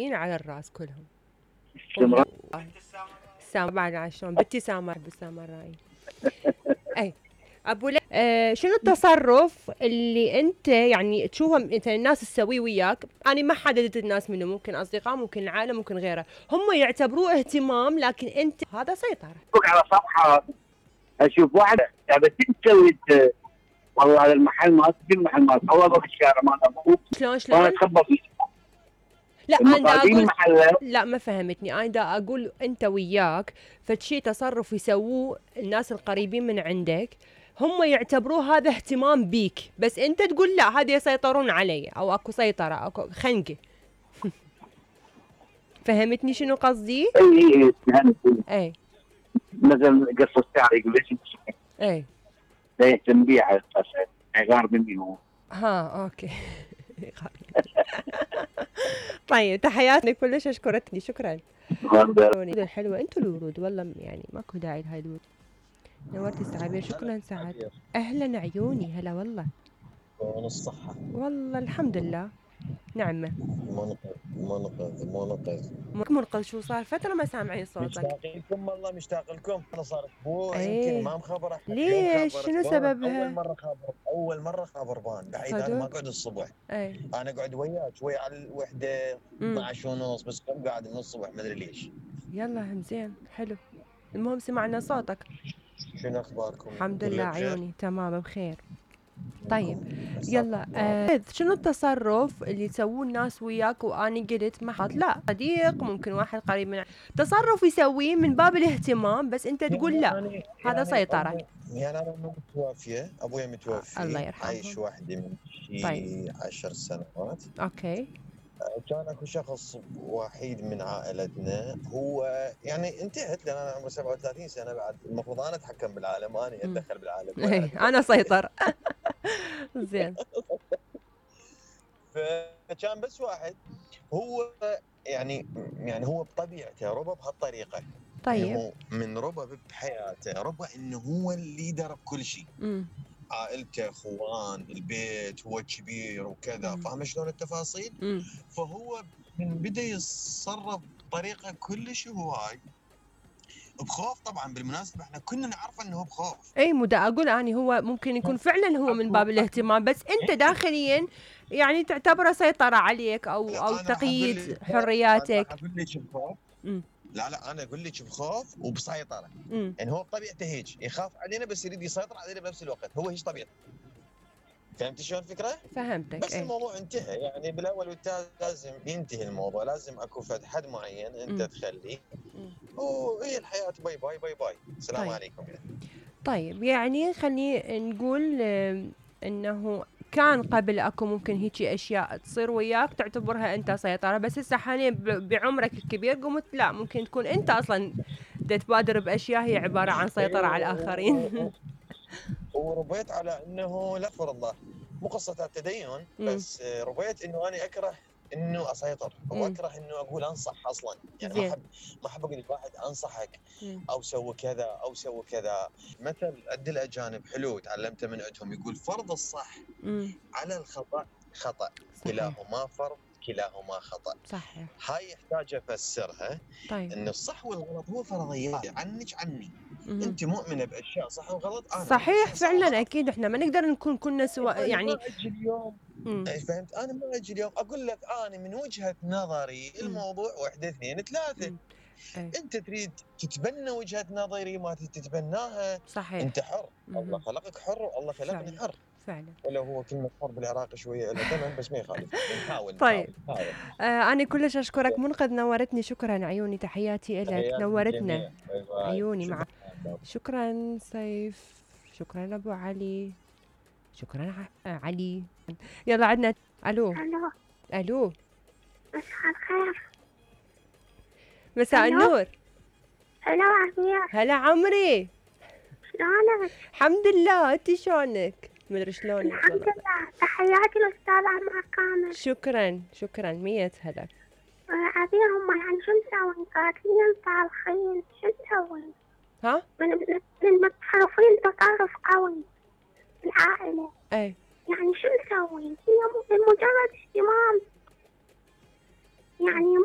على الراس كلهم. استمرار. سامر بعد شلون بنتي سامر بالسامراء. اي ابو شنو التصرف اللي انت يعني تشوفه مثلا الناس تسويه وياك؟ انا ما حددت الناس منه، ممكن اصدقاء، ممكن العائله، ممكن غيره، هم يعتبروه اهتمام لكن انت هذا سيطره. على صفحه اشوف واحده قاعده تسوي والله هذا المحل مالتي في المحل مالتي والله بالشارع مال ابوك شلون وانا اتخبى فيه. لا انا دا اقول محله. لا ما فهمتني، انا دا اقول انت وياك فشي تصرف يسووه الناس القريبين من عندك هم يعتبروه هذا اهتمام بيك، بس انت تقول لا هذا يسيطرون علي او اكو سيطره اكو خنقه. فهمتني شنو قصدي؟ اي اي مثلا قص الشعر يقول ليش اي لا يهتم بيه على اساس غار مني هو. ها اوكي. طيب تحياتي كلش اشكرتني شكرا. الحلوه انتوا الورود والله يعني ماكو داعي لهاي الورود. نورتي السعابير شكرا سعد. اهلا عيوني هلا والله. الصحة والله الحمد لله نعمة. منقذ شو صار فترة ما سامعين صوتك. مشتاق لكم والله مشتاق لكم. انا صار اسبوع ايه. يمكن ما مخبر احد. ليش شنو سببها؟ اول مرة خابر بان بعيد. انا ما اقعد الصبح. ايه. انا اقعد وياك شوي على الوحدة 12 ونص بس قاعد من الصبح ما ادري ليش. يلا زين حلو. المهم سمعنا صوتك. شنو اخباركم؟ الحمد لله عيوني تمام بخير. طيب يلا شنو التصرف اللي يسووه الناس وياك واني قلت ما حط لا صديق ممكن واحد قريب من تصرف يسويه من باب الاهتمام بس انت تقول لا هذا سيطرة. يعني انا متوفية ابويا متوفي الله يرحمه. عايش وحدي من شي 10 سنوات. اوكي. كان اكو شخص وحيد من عائلتنا هو يعني انتهت لان انا عمري 37 سنه بعد المفروض انا اتحكم بالعالم انا اتدخل بالعالم. انا سيطر. زين. فكان بس واحد هو يعني هو بطبيعته ربى بهالطريقه. طيب. انه من ربى بحياته ربى انه هو الليدر بكل شيء. عائلته اخوان البيت هو الكبير وكذا. فاهم شلون التفاصيل؟ فهو من بدا يتصرف بطريقه كلش هواي بخوف. طبعا بالمناسبه احنا كنا نعرف انه هو بخوف. اي مو دا اقول اني هو ممكن يكون فعلا هو من باب الاهتمام بس انت داخليا يعني تعتبره سيطره عليك او تقييد حرياتك. اقول لك بخوف. لا انا اقول لك بخوف وبسيطره. يعني هو بطبيعته هيك يخاف علينا بس يريد يسيطر علينا بنفس الوقت. هو هيك طبيعته. فهمت شلون الفكره؟ فهمتك. بس الموضوع انتهى يعني بالاول والتالي لازم ينتهي الموضوع. لازم اكو فد حد معين انت تخليه وهي الحياه. باي باي باي باي. السلام طيب. عليكم. طيب يعني خليني نقول انه كان قبل اكو ممكن هيجي اشياء تصير وياك تعتبرها انت سيطره بس هسه حاليا بعمرك الكبير قمت لا ممكن تكون انت اصلا تبادر باشياء هي عباره عن سيطره على الاخرين. وربيت على انه لا فرض الله مو قصه التدين بس ربيت انه انا اكره انه اسيطر واكره انه اقول انصح اصلا. يعني ما احب اقول لواحد انصحك او سوي كذا او سوي كذا. مثل عند الاجانب حلو تعلمته من عندهم يقول فرض الصح على الخطا خطا. كلاهما فرض كلاهما خطا. صحيح. هاي يحتاج افسرها. طيب. ان الصح والغلط هو فرضيات عنك عني. انت مؤمنه باشياء صح وغلط. انا صحيح فعلا اكيد احنا ما نقدر نكون كلنا سواء يعني. ما اجي اليوم فهمت. انا ما اجي اليوم اقول لك انا من وجهه نظري الموضوع 1 2 3. انت تريد تتبنى وجهه نظري ما تتبناها. صحيح. انت حر. الله خلقك حر والله خلقني حر فعلا. ولو هو كلمه حر بالعراق شويه له ثمن بس ما يخالف. نحاول. طيب انا كلش اشكرك منقذ نورتني. شكرا عيوني تحياتي لك نورتنا عيوني مع شكرا سيف. شكرا ابو علي. شكرا علي. يلا عدنا. الو الو مساء الخير. مساء النور. هلا عمير. هلا عمري شلونك؟ الحمد لله. انت شلونك؟ مدري شلونك. الحمد لله. تحياتي للاستاذ عمار كامل. شكرا 100 هلا. عبير هم يعني شو نسوي؟ قاتلين طالخين شو نسوي؟ ها؟ من متصرفين تصرف قوي بالعائلة. اي يعني شو نسوي؟ هي مجرد اهتمام يعني مو